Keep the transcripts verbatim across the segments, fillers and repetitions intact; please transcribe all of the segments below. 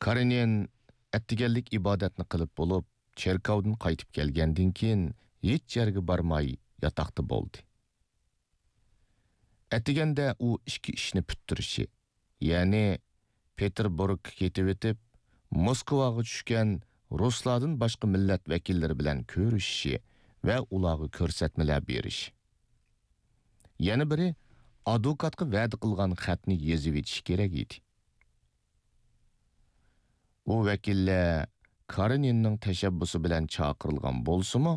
كارېنىن ئەتىگەنلىك ئىبادەتنى قىلىپ بولۇپ، چېركاۋدىن قايتىپ كەلگەندىن كېيىن، ھېچ يەرگە بارماي ياتاقتا بولدى. ئەتىگەندە ئۇ ئىككى ئىشنى پۈتتۈرۈشى، يەنى پېتېربۇرگقا كېتىۋېتىپ، موسكۋاغا چۈشكەن رۇسلاردىن باشقا مىللەت ۋەكىللىرى بىلەن كۆرۈشۈشى ۋە ئۇلارغا كۆرسەتمىلەر بېرىشى. يەنە بىرى، ئادۋوكاتقا ۋەدە قىلغان خەتنى يېزىۋېتىشى كېرەك ئىدى. ئۇ ۋەكىللەر كارېنىننىڭ تەشەببۇسى بىلەن چاقىرىلغان بولسىمۇ،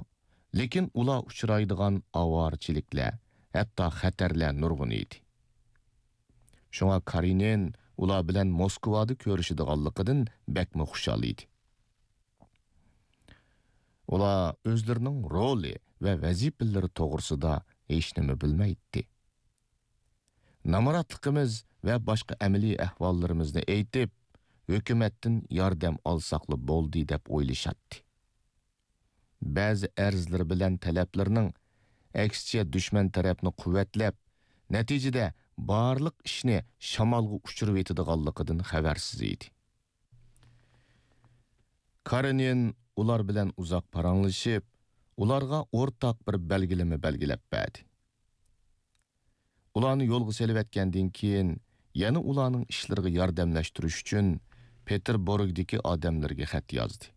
لېكىن ئۇلار ئۇچرايدىغان ئاۋارىچىلىكلەر، ھەتتا خەتەرلەر نۇرغۇن ئىدى. شۇڭا كارېنىن ئۇلار بىلەن موسكۋادا كۆرۈشىدىغانلىقىدىن بەكمۇ خۇشال ئىدى. ئۇلار ئۆزلىرىنىڭ رولى ۋە ۋەزىپىلىرى توغرىسىدا ھېچنېمە بىلمەيتتى. نامراتلىقىمىز ۋە باشقا ئەمەلىي ئەھۋاللىرىمىزنى ئېيتىپ، ھۆكۈمەتتىن ياردەم ئالساقلا بولدى دەپ ئويلىشاتتى. بەزى ئەرزلىرى بىلەن تەلەپلىرىنىڭ، ئەكسىچە دۈشمەن تەرەپنى قۇۋۋەتلەپ، نەتىجىدە بارلىق ئىشنى شامالغا ئۇچۇرۇۋېتىدىغانلىقىدىن خەۋەرسىز ئىدى. كارېنىن ئۇلار بىلەن ئۇزاق پاراڭلىشىپ، ئۇلارغا ئورتاق بىر بەلگىلىمە بەلگىلەپ بەردى. ئۇلارنى يولغا سېلىۋەتكەندىن كېيىن، يەنە ئۇلارنىڭ ئىشلىرىغا ياردەملەشتۈرۈش ئۈچۈن پېتېربۇرگدىكى ئادەملىرىگە خەت يازدى.